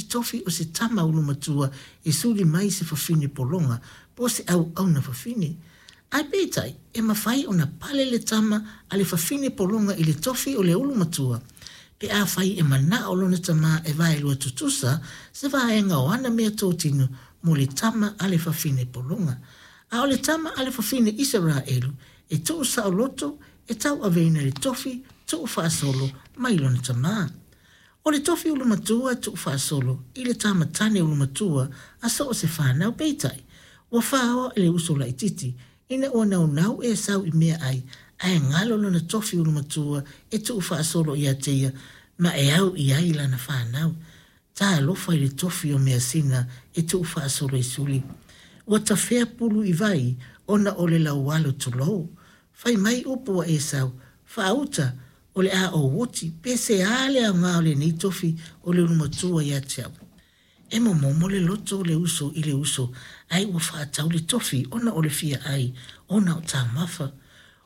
tofi o se tama ulumatua e suli mai i se fafine pologa po o se auauna fafine. Ae peitai, e mafai ona pale le tama a le fafine pologa i le tofi o le ulumatua pe afai e mana'o lona tamā e vaelua tutusa se vaega o ana meatotino mo le tama a le fafine pologa. A o le tama a le fafine Isaraelu e tuusaoloto e tauaveina le tofi tuufaasolo mai lona tamā. O le tofi ulumatua e tuufaasolo i le tama tane ulumatua a so o se fanau. Peitai, ua faoa e le uso laitiiti ina ua naunau Esau i meaai ae galo lona tofi ulumatua e tuufaasolo ia te ia ma e au i ai lana fanau. Talofa i le tofi o measina e tuufaasolo i suli. Ua tafea pulu i vai ona o le laualo tulou. Fai mai upu a Esau, Faauta, o le a ou oti, pe se a le aoga o lenei tofi o le ulumatua ia te au. E momomo le loto o le uso i le uso, ae ua faatau le tofi ona o le fia ai, ona o taumafa.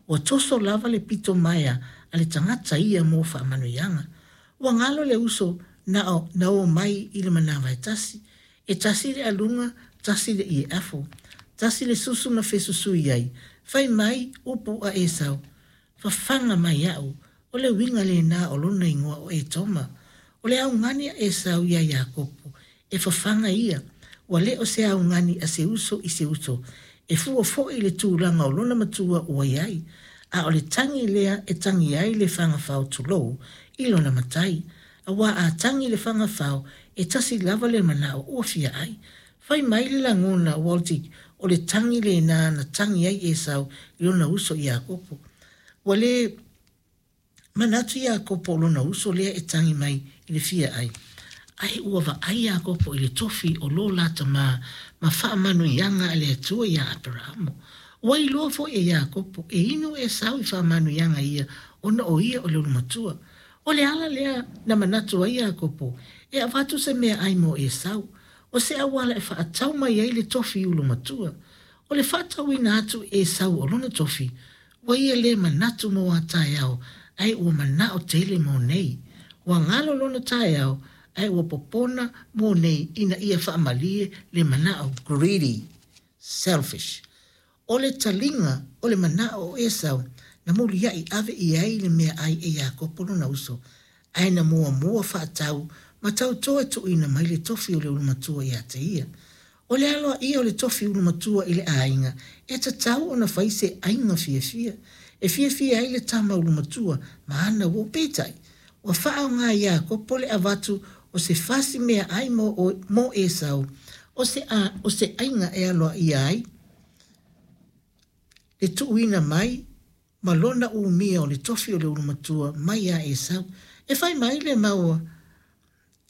Ua toso lava le pito maea a le tagata ia mo faamanuiaga. Ua galo le uso na na o mai i le manava e tasi. E tasi le aluga, tasi le ie afo. Tasi le susu na fesusui ai. Fai mai upu a Esau, Fafaga mai au, o le uiga lena o lona igoa o Etoma. O le augani a Esau iā Iakopo, e fafaga ia, ua le o se augani a se uso i se uso, e fua foi i le tulaga o lona matua ua i ai, a o le tagi lea e tagi ai le fagafao tulou i lona matai, aua a tagi le fagafao e tasi lava le manao ua fia ai. Fai mai le lagona Waltic o le tagi lena na tagi ai Esau i lona uso Iakopo. Ua le manatu Iakopo o lona uso lea e tagi mai i le fia ai. Ae ua vaai Iakopo i le tofi o lo la tamā ma faamanuiaga a le Atua iā Aperahamo. Ua iloa foi e Iakopo e inu Esau i faamanuiaga ia ona o ia o le ulumatua. O le ala lea na manatu ai Iakopo e avatu se meaai mo Esau, o se auala e faatau mai ai le tofi ulumatua. O le faatauina atu e Esau o lona tofi, ua ia lē manatu mo a taeao, ae ua manao tele mo nei. Ua galo lona taeao, ae ua popona mo nei ina ia faamalie le manao, greedy, selfish. O le taliga o le manao o Esau na muliaʻi ave i ai le meaai e Iakopo lona uso, ae na muamua faatau ma tautoa e tuuina mai le tofi o le ulumatua ia te ia. O le aloaia o le tofi ulumatua i le aiga, e tatau ona fai se aiga fiafia, e fiafia ai le tama ulumatua ma ana uo. Peitai, ua faaaoga e Iakopo le avatu o se fasi meaai mo Esau, o se o se aiga e aloaia ai le tuuina mai ma lona umia o le tofi o le ulumatua mai iā Esau. E fai mai le mau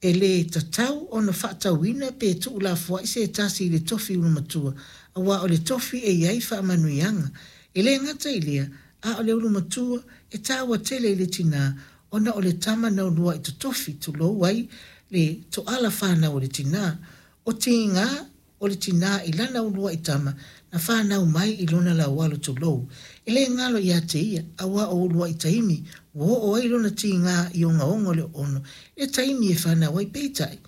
E lē tatau ona faatauina pe tuulafoaʻi se tasi i le tofi ulumatua, auā o le tofi e i ai faamanuiaga. E lē gata i lea, a o le ulumatua e taua tele i le tinā ona o le tama na uluaʻi totofi tulou ai le toala fanau o le tinā. O tigā o le tinā i lana uluaʻi tama na fanau mai i lona laualo tulou, e lē galo iā te ia, auā o uluaʻi taimi ua oo ai lona tigā i ogaoga o le oono le taimi e fanau ai. Peitai,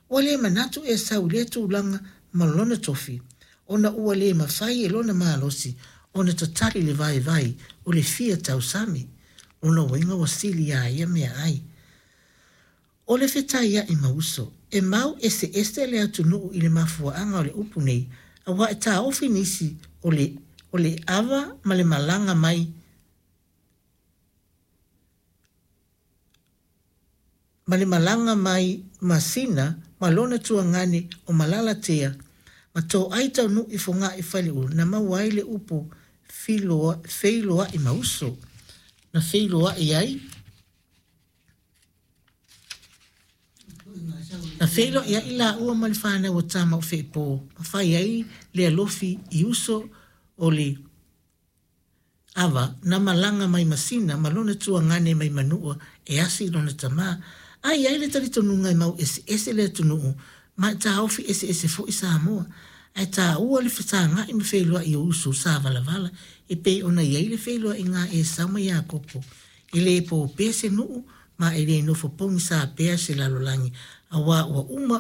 ua lē manatu Esau i lea tulaga ma lona tofi, ona ua lē mafai e lona malosi ona tatali le vaivai o le fia tausami. Lona uiga ua sili iā ia meaai. O le fetaiaʻi ma uso. E mau eseese le atunuu i le mafuaaga o le upu nei, auā e taofi nisi o le o le ava ma le malaga mai ma le malaga mai Masina ma lona tuagane o Malalatea ma Toai Taunuu i Fogaa i Faleulu na maua ai le upu filoa feiloai ma uso. Na feiloai ai Na feiloaiaʻi lāua ma le fanau a Tamaufeʻe-pō ma fai ai le alofi i uso o le ava na malaga mai Masina ma lona tuagane mai Manua e asi i lona tamā. A i ai le talitonuga e mau eseese le atunuu ma e taofi eseese foi Samoa. Ae taua le fesagaʻi ma feiloai o uso sa valavala e pei ona i ai le feiloaiga a Esau ma Iakopo. E lē pō pea se nuu ma e lē nofo pogisā pea se lalolagi, auā ua uma